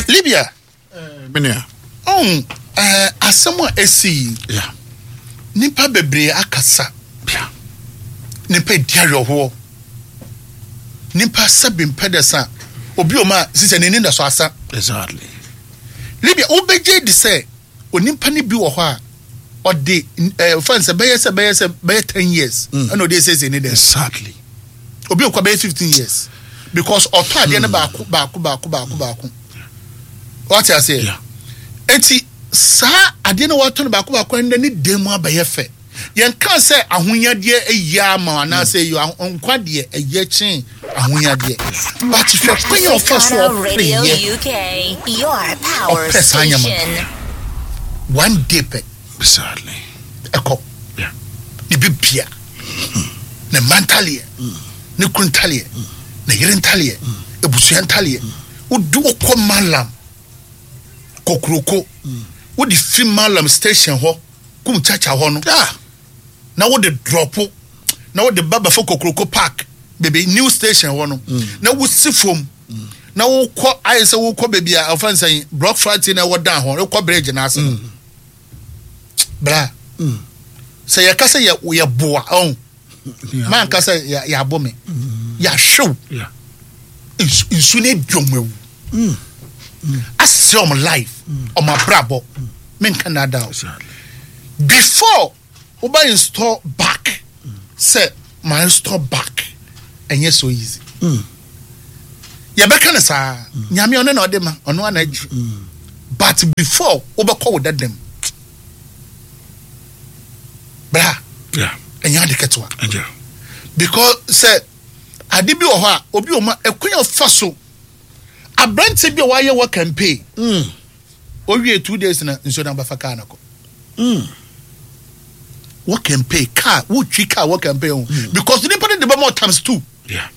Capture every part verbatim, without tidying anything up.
Libya. Menua. Ɔn ɛɛ asɛm a esi yi. Yeah. Nipa bebree akasa. Yeah. Nipa edi awerɛhoɔ. Nipa sɛbi mpɛdɛsa. Obi o ma sisɛ n'ani da so asa. Exactly. Libya, wobɛgye di sɛ onipa ni bi wɔ hɔ a ɔde ɛɛ fan sɛ bɛyɛ sɛ bɛyɛ sɛ bɛyɛ ten years ɛna ɔde esiesie ne dɛm. Exactly. Obi okɔ bɛyɛ fifteen years because ɔtɔ adeɛ no baako baako baako baako baako. Wate aseɛ? Yeah. Eti saa adeɛ no wɔatɔ no baako baako ɛnɛ ne dan mu abɛyɛ fɛ. Yɛn kan sɛ ahonyadeɛ ɛyɛ ama anaasɛ ɛyɛ nkwa deɛ ɛyɛ kyɛn ahonyadeɛ. But hwɛ kwan yɛ ɔfa so Africana ɔpere Radio yɛ U K, your power ɔpɛ saa nyama. station. One day pɛ Exactly. ɛkɔ. Yeah. Ne bi bia ne mma ntaleɛ, ne kunu ntaleɛ, ne yere ntaleɛ, ebusua ntaleɛ. Wodi wokɔ Malam Kokoroko, wode fi Malam station hɔ kum Chacha hɔ no Ah. na wode drop na wode ba bɛfo Kokoroko Park baabi new station hɔ no na wosi fam na wokɔ ayɛ sɛ wokɔ baabi a ɔfɛn sɛn block factory na ɛwɔ dan hɔ, wokɔ bridge na ase no bra sɛ yɛka sɛ yɛ yɛ boa ɔn manka sɛ yɛ yɛabɔ me yɛahwew. Yeah. nsu nsu ne di ɔmo ewu asɛ ɔmo life, ɔmo abrabɔ, menka nada o. Exactly. Before woba install back sɛ ma install back, ɛnyɛ so easy. Yɛbɛka ne saa, Nyame ɔno na ɔde ma, ɔno ana agyi, but before wobɛkɔ wo dadam bra, Yeah. ɛnyɛ ade ketewa Yeah. because sɛ ade bi wɔ hɔ a obi wɔ mu a ɛkwan a ɔfa so, aberante bi a wayɛ wɔ campaign, Mm. owie two days na nsuo na bɛfa kaa no kɔ. Mm. Wɔ campaign car, wotwi car wɔ campaign o, because nipa no de bɛma times two. Yeah.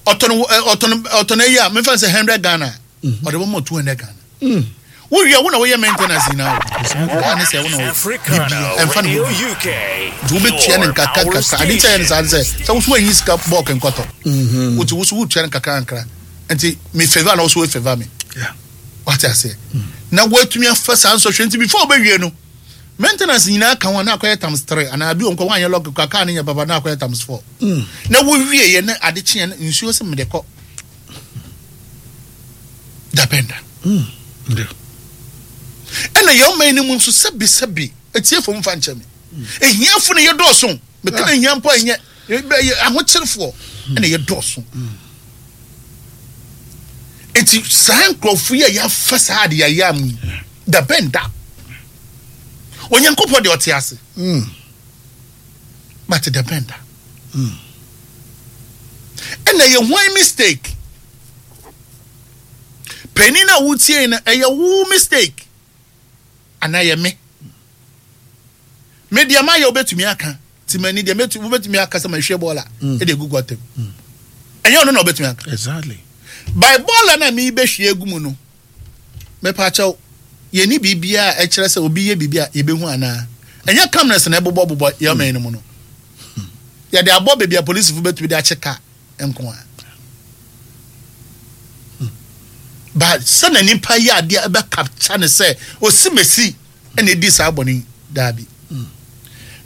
Ɔtɔn ɛ ɔtɔn ɔtɔn eyi a mefa sɛ hundred Ghana, ɔde bɛma two hundred Ghana. Mm. Wowie, wo na woyɛ maintenance nyinaa o, kaa ne sɛ wo na wo Africana bibia ɛmfa ne Radio ho bi. U K. Nti wobɛtua ne Your nkakra power nkakra. Ade nkyɛn ne saa ne sɛ sɛ woso anyi sika bɔɔk nkɔtɔ wotu woso wotua ne nkakra nkakra, nti me favour na woso wo favour me. Yeah. Wate aseɛ? Na woatumi afa saa nsɔhwɛ, nti before wobɛwie no, maintenance nyinaa ka ho a, na akɔyɛ times three anaa bi wɔ nkɔ woanyɛ lɔk kora kaa ne nyɛ papa na akɔyɛ times four. Na wowie yɛ na ade kyeɛ no nsuo sɛ mede kɔ dabɛnda. Yeah. Ɛna yɛn ɔman no mu nso, sɛbi sɛbi, etiefo mfa nkyɛn mi, ehiafo no yɛ dɔɔso. Meka na ehia mpo a ɛnyɛ ɛyɛ ahokyerefoɔ ɛna yɛ dɔɔso, eti saa nkurɔfo yi a yɛafa saa ade yɛayɛ amu yi, dabɛnda Onyankopɔn deɛ ɔte ase, Mm. but dabɛnda ɛna yɛ hwan mistake? Panin a wotie no, ɛyɛ wo mistake anaa yɛ me? Me deɛ mayɛ, wobɛtumi aka nti mani deɛ mɛtu- wobɛtumi aka sɛ mahwie bɔɔla ɛde egu gutter mu, ɛnyɛ ɔno na wobɛtumi aka. Exactly. By bɔɔla no a meebɛhwie agu mu no, mepaakyɛw, yɛni biribiaa a ɛkyerɛ sɛ obi yɛ biribi a yɛbɛhu anaa? Ɛnyɛ cameras na ɛbobɔbobɔ yɛ ɔman no mu no, yɛde abɔ baabi a polisifo bɛtumi de akye kaa nko a, but sɛna nipa yɛ adeɛ ɛbɛ capture ne sɛ osi mesi ɛna edi saa bɔne yi, daabi.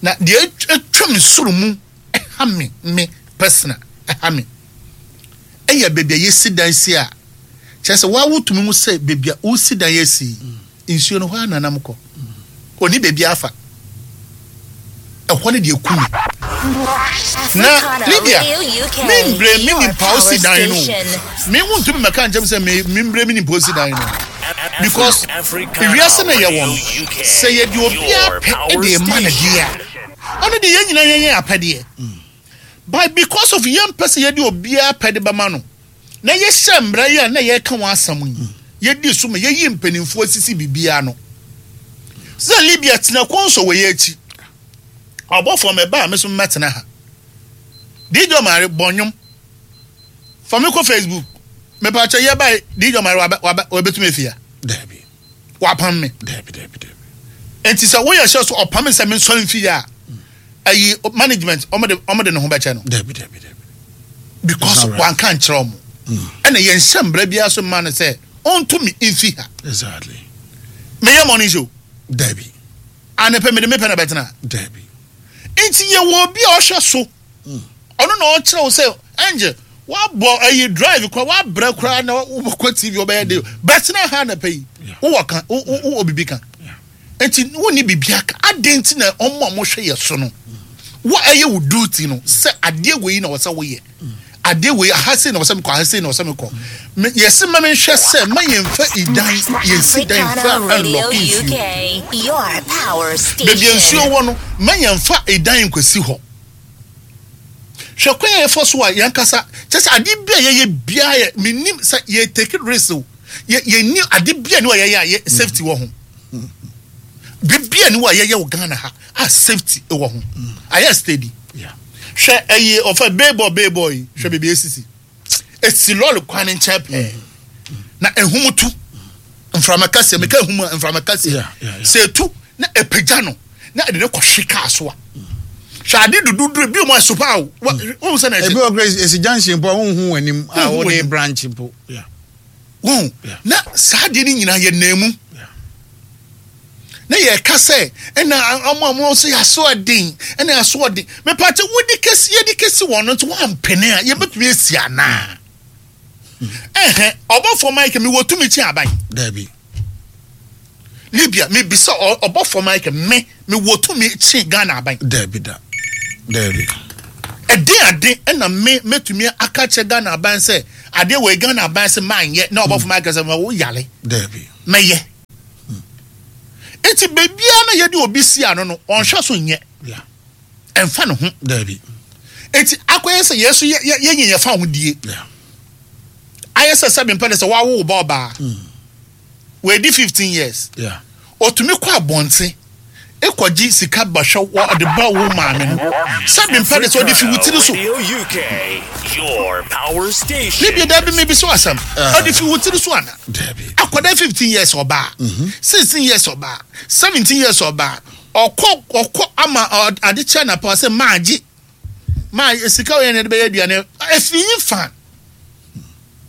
Na deɛ atwam soro mu ɛha me me personal, ɛha me ɛyɛ baabi a yɛsi dan si a kyerɛ sɛ waa wotumi hu sɛ baabi a wosi dan yɛsi nsuo no hɔ a nanam kɔ oni baabi afa ɛhɔ no deɛ kum na Lydia me mbre me nipa osi dan no, me hu ntumi mɛka nkyɛn sɛ me me mbre me nipa osi dan no because ewiase na yɛ wɔ no sɛ yɛde obiara pɛ ɛde ɛma no deɛ a, ɔno deɛ yɛn nyinaa yɛn yɛn apɛdeɛ, but because of yɛn pɛ sɛ yɛde obiara pɛ de bɛma no na yɛhyɛ mmara yi a na yɛka wɔn asɛm yi, yɛdi so ma yɛyi mpanimfoɔ sisi biribiara no sɛ Libya tena kɔnsɔ wɔ yɛn akyi ɔbɔfoɔ mɛ ba a me so mɛtena ha. D J Omari bɔ nnwom fa me kɔ Facebook, mepaakyɛ yɛ ba D J Omari wabɛ wabɛ wabɛtumi efia. Dabi. Wapam me? Dabi, dabi, dabi. Nti sɛ woyɛ hyɛ so ɔpam me sɛ me nsɔre mfi yɛ a, ayi management ɔmo de ɔmo de ne ho bɛkyɛ no. Dabi, dabi, dabi. Because It's not right. wanka nkyerɛ ɔmo, ɛna yɛn nhyɛ mbra biara so mma no sɛ Ɔnto me mfi ha. Exactly. Meyɛ morning show. Dabi. Anepɛ mede mepɛ na bɛtena. Dabi. Nti yɛwɔ obi a ɔhwɛ so. Ɔno na ɔkyerɛ wo sɛ, Angel, woabɔ ayi drive kora, woabrɛ koraa na wobɛkɔ T V, wobɛyɛ de bɛtena ha anapɛ yi. Yeah. Wowɔ ka, wo- wo- wowɔ biribi ka. Yeah. Nti wonni biribi aka. Adɛn nti na ɔmo a mohwɛ yɛ so no, wo ɛyɛ wo duty no sɛ adeɛ wei na wɔsɛ woyɛ, adeɛ wei aha sei na wɔsɛ mekɔ, aha sei na wɔsɛ mekɔ. Me- yɛse ma menhwɛ sɛ ma yɛmfa idan yɛnsi dan Africana fa Radio ɛnlɔke nsuo. U K, your power Baabi a station. nsuo wɔ no, ma yɛmfa ɛdan nkwasi hɔ. Hwɛ kwan a yɛfa so a yɛnkasa kyɛ sɛ ade bi a yɛyɛ biara yɛ, menim sɛ yɛ take risk o. Yɛ yɛni ade bi a ne wɔ yɛyɛ a yɛ safety wɔ ho. Biribi a ne wɔ a yɛyɛ wɔ Ghana ha a safety wɔ ho ayɛ steady. Yeah. Hwɛ ɛyi ɔfɛ beebɔ beebɔ yi, hwɛ beebi esisi, esi lɔɔre kwan ne nkyɛn pɛɛ na ehum tu, mframa kɛseɛ, meka ehum a, mframa kɛseɛ. Yeah, yeah, yeah. Sɛ etu na epagya no na ɛde ne kɔhwe kaa so a, hwɛ ade dududuru bi mu a ɛso paa o. Wa wɔn sɛ na Ebi ɛkyɛ wɔ kura esi junction po a wohu w'anim a Wonhu wode w'anim. branch po. Yeah. Wɔn Yeah. na saa adeɛ no nyinaa yɛ nan mu Yeah. na yɛka sɛ ɛna ɔmo a ɔmo nso yɛ aso ɔden, ɛna aso ɔden. Mepatɛ wodi kesi, yɛdi kesi wɔn no nso wɔampene a yɛbɛtumi esi anaa? Ɛhɛn, ɔbɔfo Mike, mi wɔ tumi kyi aban? Dabi. Libya, mebisa, ɔ- ɔbɔfo Mike, me mewɔ tumi kyi Ghana aban? Dabi da. Dabi. Ɛden ade ɛna me mɛtumi aka kyerɛ Ghana aban sɛ adeɛ wɔ Ghana aban sɛ manyɛ na ɔbɔfo Mike sɛ ma wo yale? Dabi. Mɛyɛ. Eti beebiara na yɛde obi si ano no, ɔnhwɛ so nyɛ. Yeah. Ɛnfa ne ho. Dabi. Eti akɔyɛ sɛ yɛn so yɛ yɛ yɛnyɛ yɛfa ho die. Yeah. Ayɛ sɛ sɛ mempɛ de sɛ wawo wo ba ɔbaa wɔadi fifteen years, Yeah. otumi kɔ abɔnten ekɔgye sika bɛhwɛ wɔ ɔde ba wo maame no, sɛ mempɛ de sɛ ɔde fi wo tiri so. Radio U K, your power station. Libya, dabi, mi bi so asɛm, ɔde fi wo tiri so ana? Dabi. Akwadaa fifteen years ɔbaa, sixteen years ɔbaa, seventeen years ɔbaa, ɔkɔ ɔkɔ ama ɔ- ade kyɛ na pa sɛ maagye maa sika wɔ yɛn na yɛde bɛyɛ aduane efi yi fa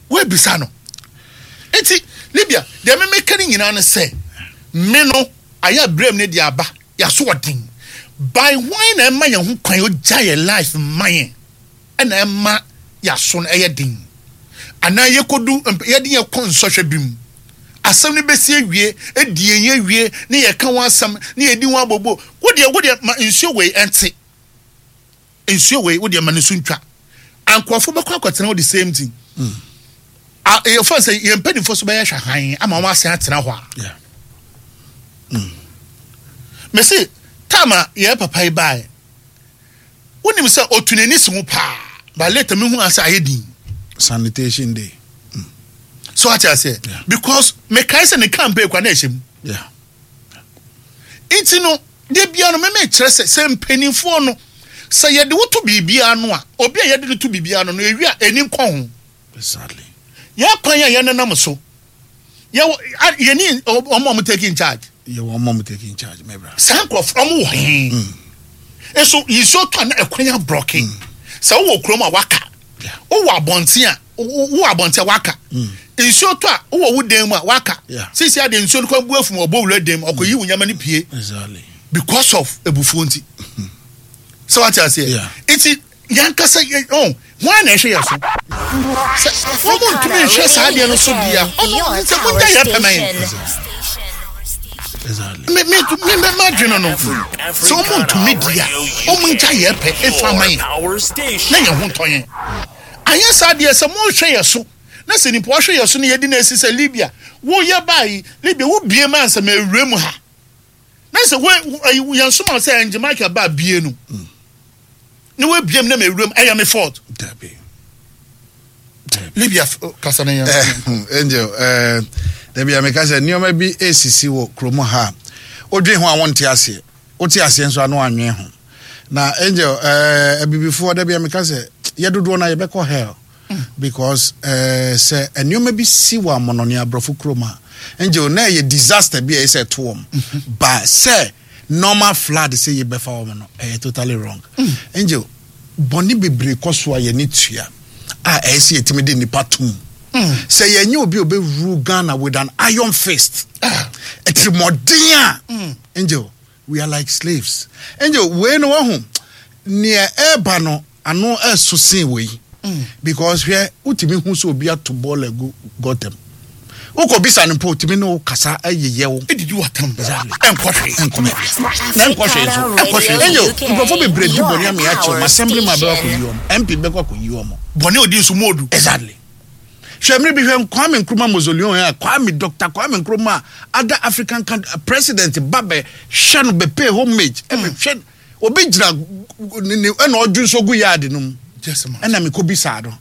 woebisa no. Eti Libya deɛ mímí ne nyinaa no sɛ me no ayɛ abirem ne deɛ aba yaso ɔden by hwan na ɛma yɛn ho kwan ogya yɛ life ma yɛn, ɛna ɛma yaso no ɛyɛ den anaa yɛkɔdu mp- yɛde yɛ kɔ nsɔhwɛ bi mu, asɛm no bɛsi awie, edi yɛn awie ne yɛka ho asɛm ne yɛdi ho abobo. Wodeɛ wodeɛ ma nsuo wei ɛnte, nsuo wei wodeɛ ma ne so ntwa, ankorɔfo bɛkɔ akɔtena hɔ the same thing. A yɛfa sɛ yɛn mpanimfoɔ so bɛyɛ hwɛ han ama wɔn asan atena hɔ a. Yeah. Mesi time a yɛn papa yi baeɛ, wonim sɛ otu n'ani si ho paa, but later mehu ase ayɛ din. Sanitation day. So ate aseɛ? Yeah. Because mekae sɛ ne campaign kwa na ɛhyɛ mu. Yeah. Nti no de bia no mɛmɛ kyerɛ sɛ sɛ mpanimfoɔ no sɛ yɛde woto biribiara no a, obi a yɛde no to biribiara no no ewi a ɛni nkɔ ho. Exactly. Yɛ kwan a yɛnenam so, yɛwɔ a- yɛni ɔmo a ɔmo take in charge. Yɛ wɔn mom taking charge, my brother. Saa nkurɔfoɔ ɔmo wɔ he nso nsuo tɔ a na ɛkwan ablocke sɛ wowɔ kurom a waka. Yeah. Wowɔ abɔnten a wo- wowɔ abɔnten a waka, nsuo tɔ a wowɔ wo dan mu a waka. Yeah. Sisi ade nsuo no kwan bu afum, ɔbɔ wura dan mu, ɔkɔyi wo nyama no pie Exactly. because of ebufuo nti sɛ wate aseɛ. Yeah. Nti yankasa yɛ ɔn wɔn na ɛhwɛ yɛ so sɛ wɔn mu ntumi nhwɛ saa adeɛ no so bia ɔno sɛ mo ngya yɛ pɛmɛ yɛn. Exactly. Me me me me ma dwene no sɛ wɔn mu ntumi di a, wɔn ngya yɛ pɛ efa ama yɛn Power station. na yɛn ho ntɔ yɛn. Anyɛ saa deɛ sɛ mohwɛ yɛ so na sɛ nipa ɔhwɛ yɛ so no yɛdi na esi sɛ Libya woyɛ baayi, Libya wobie ma nsɛm ewura mu ha na sɛ wo ɛyi yɛn soma sɛ ɛngye Michael ba bie no ne wabie mu na ma ewura mu, ɛyɛ me fault? Dabi. Libya f- kasa na yɛn. Eh, Angel, eh, dabi a meka sɛ nneɛma bi esisi wɔ kurom ha a wodwen ho a wonte aseɛ, wote aseɛ nso ano anwen ho. Na Angel, eh, abibifoɔ, dabi a meka sɛ yɛ dodoɔ no a yɛbɛkɔ hell because eh, sɛ nneɛma bi si wɔ amɔnɔne aborɔfo kurom a, Angel, na ɛyɛ disaster bi a ɛyɛ sɛ ɛto wɔn ba sɛ normal flood sɛ yɛbɛfa wɔn no, ɛyɛ totally wrong. Angel, bɔne bebree kɔ so a yɛne tua a ɛyɛ sɛ yɛtumi de nipa tom. Sɛ yɛnyɛ obi a obɛrule Ghana with an iron fist, ɛtirimɔden a, Angel, we are like slaves. Angel, wei no wahu nea ɛreba no, ano ɛso sen wei, because hwɛ, wotumi hu sɛ obi ato bɔɔl agu gɔtɛm, wokɔ bisa no mpo, otumi ne wo kasa ɛyeyɛ wo. Ɛdidi watam. Exactly. Ɛnkɔ hwee. Nkɔmɛ na nkɔ hwee nso. Ɛnkɔ hwee. Angel, U K, nkurɔfoɔ bebree di bɔne ama yɛakyɛ your ɔmo, assembly man bɛkɔ station. akɔyi ɔmo, M P bɛkɔ akɔyi ɔmo. Bɔne odi nso mu odu. Exactly. Hwɛ, mmiri bi, hwɛ Kwame Nkrumah mausoleum a Kwame, Doctor Kwame Nkrumah, other African country president ba bɛ hwɛ no, bɛ pay homage, ɛbɛ hwɛ obi gyina ne ne ɛna ɔdwu nso gu yaadi no mu. Just man. Ɛna mekɔ bisa no,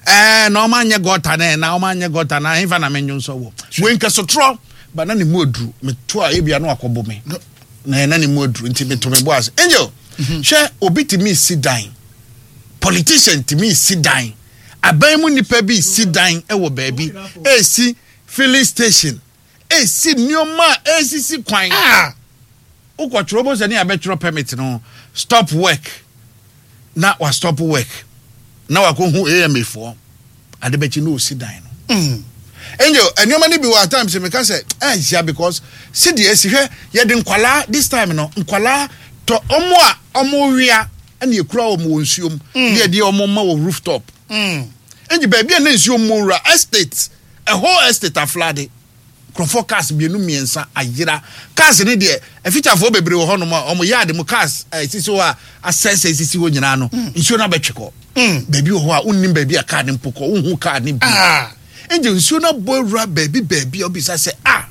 ɛɛ na ɔma anyɛ gutter na na ɔma anyɛ gutter na ahemfa na menwo nso wɔ wei nkɛsotorɔ ba na ne mu aduru meto a, ebia no akɔbɔ me No. Na ɛna ne mu aduru nti meto me bo ase. Angel, hwɛ, obi tumi si dan, politician tumi si dan, aban mu nipa bi si dan ɛwɔ baabi, esi filling station, esi nneɛma a esisi kwan. Ah. Wokɔtwerɛ bɔ sɛ ne yɛabɛtwerɛ permit no, stop work, na wa stop work na wakɔhu A M A foɔ ade bɛkyi na ɔsi dan no. Mm. Angel, nneɛma no bi wɔ at times meka sɛ ɛnhyia, because sɛdeɛ esi hwɛ, yɛde nkwalaa this time no, nkwalaa tɔ ɔmo a ɔmo wia ɛna ekura ɔmo wɔ nsuo mu ne yɛde ɔmo ma wɔ rooftop. Mm. Ɛnti baabi a ne nsuo mu wura estate, ɛhɔ estate aflood, nkurɔfoɔ cars mmienu mmiɛnsa ayera. Cars ne deɛ, afitafoɔ bebree wɔ hɔnom a ɔmo yaade mu cars ɛsisi hɔ a asɛsɛ esisi hɔ nyinaa no, nsuo no abɛtwe kɔ. Baabi wɔ hɔ a wonnim baabi a car ne mpo kɔ, wonhu car ne bi. Ah. Nti nsuo no abɔ awura baabi baabi a wobisa sɛ, ah.